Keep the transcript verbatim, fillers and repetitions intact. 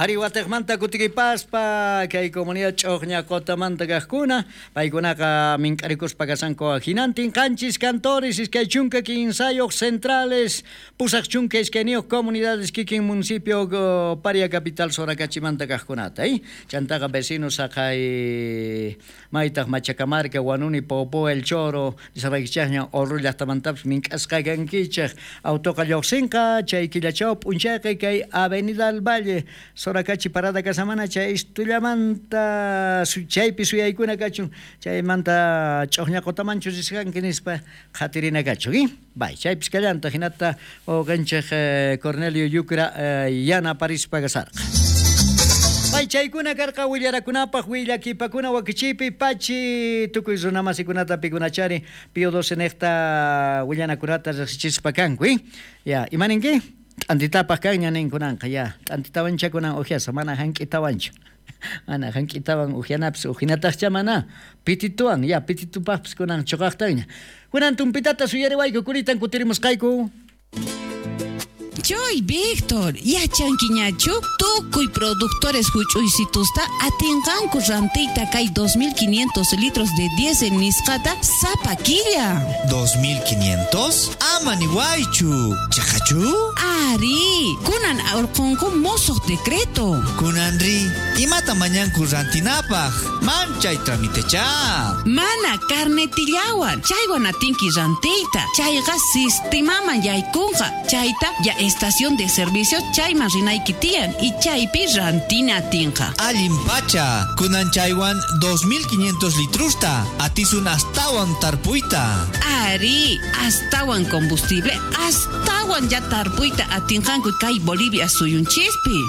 Ari watejmanta kutikipaspa kay comunidad Ch'uqña Qotamanta kaqkuna paykunaqa mink'arikuspa kasanku hinantin qanchis cantores iskay chunka kinsayuq centrales pusaq chunka iskayniyuq comunidades kikin municipio Paria capital Soracachimanta kaqkunata eh? Chantaqa vecinos saqay maytaq Machacamarca, Huanuni, Poopó, El Choro nisqaykichaqña Oruro llaqtamantapis mink'asqa kankichaq autoqa lluqsinqa chay killachaw p'unchayqa kay Avenida del Valle Soracachi parada kasamana chay istullamanta chaypi suyaykuna kachun chaymanta Ch'uqña Qotamanchu risqanki nispa qhatirina kachun eh? Bay chaypis kallanta hinata wawqinchik Cornelio Yucra yanaparispa kasarqa. Bay chaykuna karqa willarakunapaq willakipakuna wakichipi pachi tukuy runamasikunata pikunachari Pío doce niqta willanakunata riqsichispa kanku eh? Ya, imaninki? T'antitapaq kanña ninkunanqa ya, t'antitawancha kunan uhyasa mana hank'itawanchu. Mana hank'itawan uhyanapis uhinataqcha mana pitituwan ya pititupaqpis kunan chuqaqtaña. Kunan tumpitata suyariwayku kuritan kutirimusqayku. Choy, Víctor, yachankiñachu tukuy productores huch'uysitusta atinqanku rantiyta kay dos mil quinientos litros de diésel nisqata sapa killa. ¿dos mil quinientos? Ama niwaychu. Chaqachu? Ari, kunan urqunku mosoq decreto. Kunanri, imata mañanku rantinapaq? Manchay tramitecha. Mana carnetillawan, chaywan atinki rantiyta. Chayqa sistemaman yaykunqa. Chayta ya estación de servicio chayman rinayki tiyan y chaypi rantina atinqa. Allin pacha, kunan chaywan dos mil quinientos litrusta, atisun astawan tarpuyta. Ari, astawan combustible, astawan ya tarpuyta atinqanku kay Bolivia suyunchispi.